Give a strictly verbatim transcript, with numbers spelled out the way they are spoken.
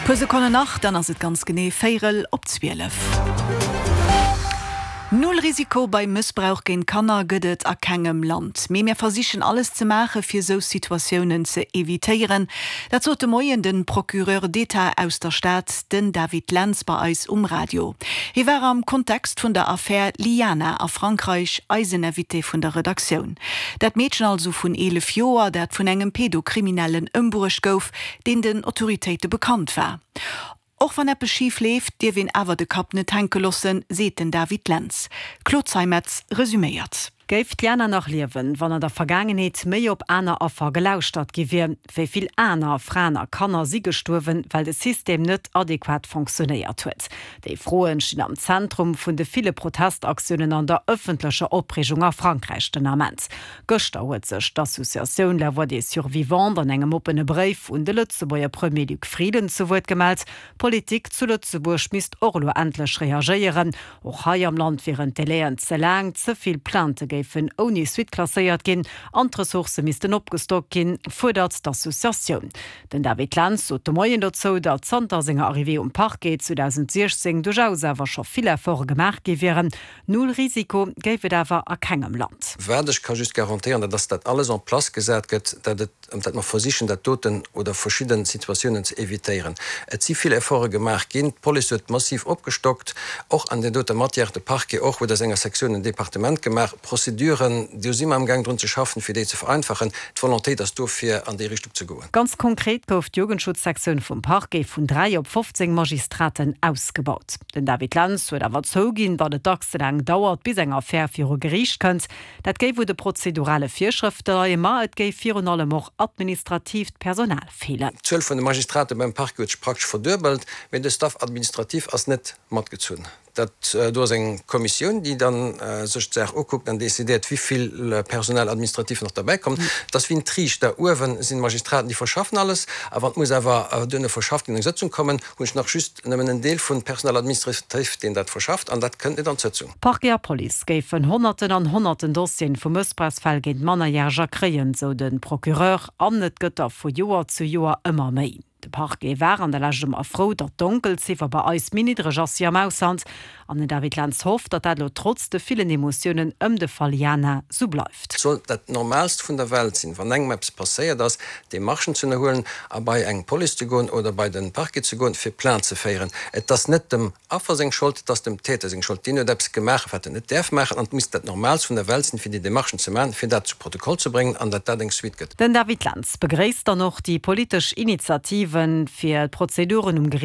Puer Sekonnen nach, dann ass et ganz genee véierel op zwielef. Null Risiko bei Mëssbrauch géint Kanner gëtt et a kengem Land. Mee mir versichen alles ze maache fir sou Situatiounen ze evitéieren. Dat sot de Moien de Procureur d'État aus der Stad, den David Lentz bei eis um Radio. Hie war am Kontext vun der Affär Liana a Frankräich eisen Invité vun der Redaktioun. Dat Meedchen also vun eelef Joer, dat vun engem Pedokriminellen ëmbruecht gouf, deen den Autoritéite bekannt war. Och wann eppes schif leeft, dierf een awer de Kapp net hänke loossen, seet den David Lentz. D'Claude Zeimetz resüméiert. Géif d'Liana nach liewen, wann an der Vergaangenheet méi op aner Affer gelauschtert gi wier? Wéi vill aner Fraen a Kanner si gestuerwen, well de System net adequat funktionéiert huet? Déi Froen stinn am Zentrum vun de ville Protestaktiounen an der ëffentlecher Opreegung a Frankräich den Ament. Gëschter huet sech d'Associatioun La Voix des Survivantes an engem oppene Bréif un de Lëtzebuerger Premier Luc Frieden zu Wuert gemellt. D'Politik zu Lëtzebuerg misst och elo endlech reagéieren. Och hei am Land wieren d'Delaien ze laang, ze vill Plaintë géifen ouni Suite klasséiert ginn an d'Ressourcë missten opgestockt ginn, fuerdert d'Associatioun. Den David Lentz sot de Moien dozou, datt zanter senger Arrivée um Parquet zweedausendsiechzéng duerchaus awer scho vill Efforte gemaach gi wieren. Null Risiko géif et awer a kengem Land. Wat ech ka just garantéieren, dat ass, datt alles en place gesat gëtt, datt et, datt mer versichen, dat doten oder verschidde Situatiounen ze evitéieren. Et si vill Efforte gemaach ginn. D'Police huet massiv opgestockt, och an där doter Matière, de Parquet och huet aus enger Sektioun en Departement gemaach. D'Prozeduren, do si mer amgaang drun ze schaffen, fir déi ze vereinfachen. D'Volontéit ass do, fir an déi Richtung ze goen. Ganz konkret gouf d'Jugendschutzsektioun vum Parquet vun dräi op fofzéng Magistraten ausgebaut. Den David Lentz huet awer zouginn, datt et dacks ze laang dauert, bis eng Affär viru Geriicht kënnt. Dat géif u de prozedurale Virschrëfte leien, ma et géif virun allem och administratiivt Personal feelen. D'Zuel vun de Magistrate beim Parquet huet sech praktesch verduebelt, mee de Staff administratif ass net matgezunn. Dat do ass eng Kommissioun, déi da sech d'Saach ukuckt an decidéiert, wéi vill Personnel administratif nach derbäi kommt. Et ass wéi en Triichter, uewe sinn d'Magistraten, déi verschaffen alles, a wann et muss awer duerno verschafft ginn, an eng Sëtzung kommen, hunn ech nach just nëmmen en Deel vun Personnel administratif, deen dat verschafft, an dat kënnt net an d'Sëtzung. Parquet a Police géifen Honnerten an Honnerten Dossieren vu Mëssbrauchsfäll géint Mannerjäreger kréien, sou de Procureur, an et gëtt der vu Joer zu Joer ëmmer méi. De Parquet war an der Lescht ëmmer frou, datt d'Donkelziffer bei eis méi niddreg ass wéi am Ausland. An den David Lentz hofft, datt dat elo trotz de villen Emotiounen ëm de Fall Jana sou bleift. Et soll dat Normaalst vun der Welt sinn, wann engem eppes passéiert ass, Demarchen ze ënnerhuelen a bei eng Police ze goen oder bei de Parquet ze goen, fir Plainte ze féieren. Et ass net dem Affer seng Schold, et ass dem Täter seng Schold. Deen huet eppes gemaach, wat en net däerf maachen, an et misst dat Normaalst vun der Welt sinn, fir déi Demarchen ze maachen, fir dat zu Protokoll ze bréngen an datt dat eng Suite gëtt. Den David Lentz begréisst dann och déi politesch Initiativen, fir d'Prozeduren um Geriicht